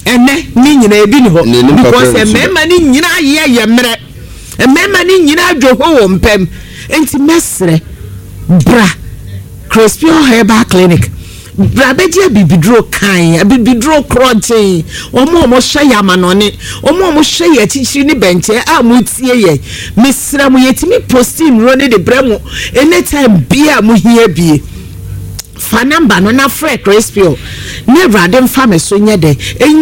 Ɛnɛ ne nyinaa ebi ni hɔ because mmarima ne nyinaa yɛ yɛ mmerɛ. Mmarima ne nyinaa dwo ho wɔ mpam. Nti mɛsrɛ bra Crispion Herbal Clinic. Bra bɛgye abibiduro kann, abibiduro korɔgyenn, wɔn a wɔhwɛ yɛn amanɔne, wɔn a wɔhwɛ yɛn akyikyiri ne bɛnkyɛn a motie yɛn, mesrɛ mo, yɛtumi posti nnuro no de brɛ mo anytime biara a mohia bie. Fa number no na frɛ Crispio na Awurade mfa me so nyɛ dɛn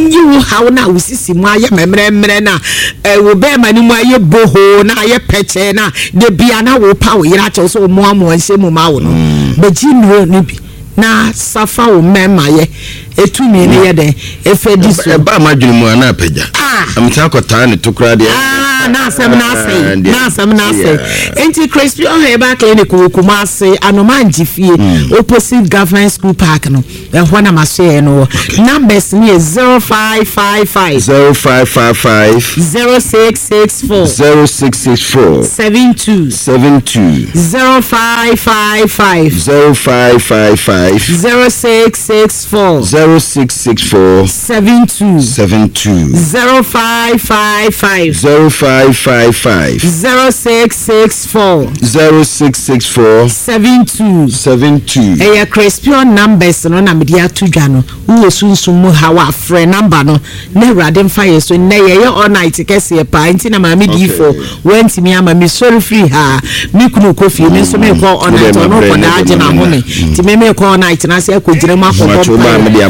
nyi wo haw no a wo sisi mu ayɛ mmerɛmmerɛ no a wo bɛrima no mu ayɛ bohoo na ayɛ pɛkyɛɛ no a da bia na wopa wo yere akyɛw sɛ ɔmmoamoa nhyɛ mu ma wo no. Bɛgye nnuro no bi. Na sa fa wo mmarima yɛ etumi no yɛ dɛn efa di so. Ɛbaa m'adwene mu a na apagya. Ah. Mesan kɔtaa ne to koraa deɛ. Ah, na asɛm no asɛe. Na asɛm no asɛe. Nti Crispion Herbal Clinic wɔ Kumasi, Anomangye fie, opposite Government School Park no. Ɛhɔ na m'asoɛeɛ no wɔ. Numbers no yɛ 0555. 0555. 0664. 0664. 72. 72. 0555. 0555. 0664. 0664. 72. 72. 0555. 0555. 0664. 0664. 72. 72. Ɛyɛ Crespion numbers no na mede ato dwa no. Wowɔ sunsum mu haw a, frɛ number no na Awurade mfa yɛn so. Nnɛ yɛyɛ all night kɛseɛ paa nti na maame diifoɔ wantumi ama. Mesɔre firi ha a, me kunu rekɔ fie, me nso merekɔ all night, ɔno rekɔda agye n'ahome. Nti me merekɔ all night no ase akɔgyina mu akɔbɔ mpaeɛ. Ah,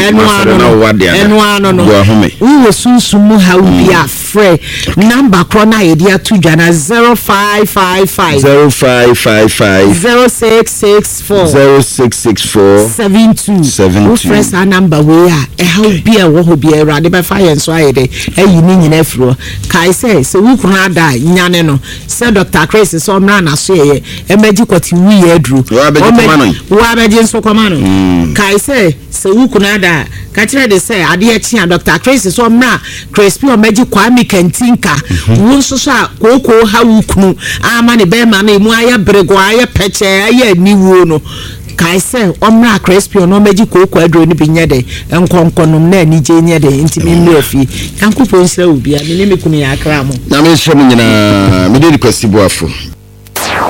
ɛno ano no, ɛno ano no. Wowɔ sunsum mu haw bi a, Frɛ number korɔ no a yɛde ato dwa no 0555. 0555. 0664. 0664. 72. 72. Wofrɛ saa number wei a, ɛhaw bi a ɛwɔ hɔ biara Awurade bɛfa yɛn so ayɛ dɛ ayi ne nyinaa afiri hɔ. Kae sɛ, sɛ wo kunu ada a, nyane no. Sɛ Dr. Chris sɛ ɔmmra n'asoɛeɛ mmɛgye kɔte wuyɛ aduro. Woabɛgye kɔma no. Woabɛgye nso kɔma no. Kae sɛ. Sɛ wo kunu ada a, ka kyerɛ de sɛ adeɛ kye a Dɔkta Chris sɛ ɔmmra Crispy ɔmmɛgye Kwame Kantinka. Wo nso so a kookoo ha wo kunu ama ne bɛrima no emu ayɛ beregɔɔ, ayɛ pɛkyɛɛ, ayɛ aniwuo no, kae sɛ ɔmmra Crispy ɔno ɔmmɛgye kookoo aduro no bi nyɛ dɛ nkɔ nkɔnom na anigye nyɛ dɛ ntumi mmra fie. Nyankopɔn nhyira wo bia. Me ne me kunu yɛ akra mo. Nyame nhyira mo nyinaa. Me din de Kwasi Boafo.